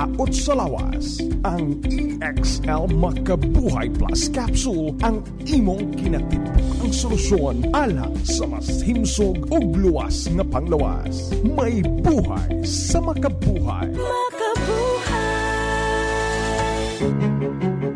Aot sa lawas, ang EXL Makabuhay Plus Capsule ang imong kinatibuk-ang solusyon alang sa mas himsog ug luwas nga panglawas. May buhay sa makabuhay. Makabuhay.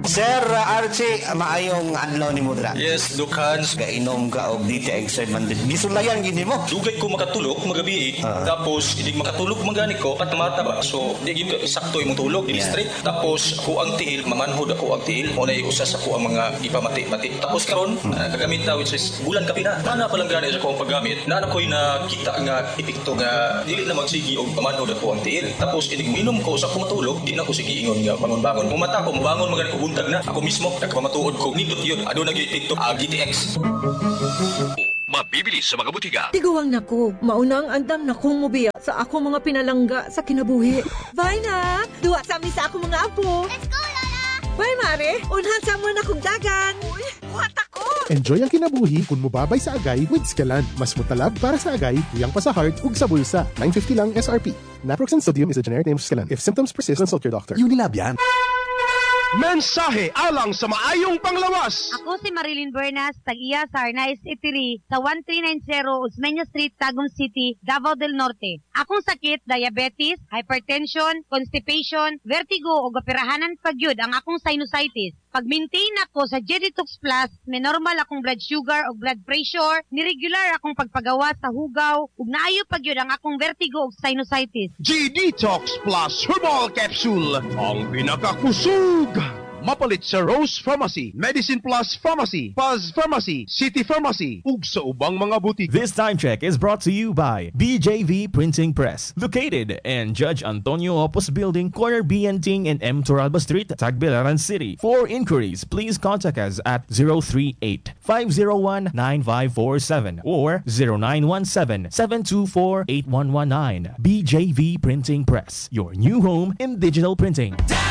Sir Archie, maayong adlaw nimo dira. Yes, Doc Hans. Gainom ka og DTX 700. Gisulayan gini mo. Dugay ko makatulog magabi. Tapos inig makatulog man gani ko patamata ba. So di gyud ka sakto imong tulog, dili straight. Tapos ako ang tiil, mamanhod ako ang tiil. Mo na usa sa ko ang mga gipamati-mati. Tapos karon kagamit ta, which is bulan kapina. Ana pa lang gani sa akong paggamit. Naa na ko'y nakita nga epekto nga dili na magsigi og pamanhod ako ang tiil. Tapos inig minom ko sa ko matulog, di na ko sige ingon nga bangon-bangon. Mumata ko, bangon man gani ko, buntag na. Ako mismo nagpamatuod ko nindot yun. Aduna gyud epekto ang GTX. Mabibili sa mga butika. Tiguang nako, mauna ang andam na kong mubiya sa ako mga pinalangga sa kinabuhi. Bye na! Duwa sa mi sa ako mga apo. Let's go, Lola! Bye, Mare! Unhan sa mo na kong dagan! Uy, buhat ako! Enjoy ang kinabuhi kung mubabay sa agay with Skelan. Mas mutalab para sa agay, kuyang pa sa heart ug sa bulsa. 950 lang SRP. Naproxen sodium is a generic name of Skelan. If symptoms persist, consult your doctor. Unilab yan. Mensahe alang sa maayong panglawas. Ako si Marilyn Bernas, tag-iya sa Arnaiz Itiri sa 1390 Osmeña Street, Tagum City, Davao del Norte. Akong sakit, diabetes, hypertension, constipation, vertigo ug operahanan pagyud ang akong sinusitis. Pag-maintain ako sa Jeditox Plus, may normal akong blood sugar ug blood pressure, ni-regular akong pagpagawa sa hugaw, ug naayo pagyud ang akong vertigo ug sinusitis. G-Detox Plus Herbal Capsule, ang pinakakusog. Mapalit sa Rose Pharmacy, Medicine Plus Pharmacy, Paz Pharmacy, City Pharmacy, ug sa ubang mga butik. This time check is brought to you by BJV Printing Press, located in Judge Antonio Opus Building, corner BN Ting and M. Toralba Street, Tagbilaran City. For inquiries, please contact us at 038 501 9547 or 0917 724 8119. BJV Printing Press, your new home in digital printing. Down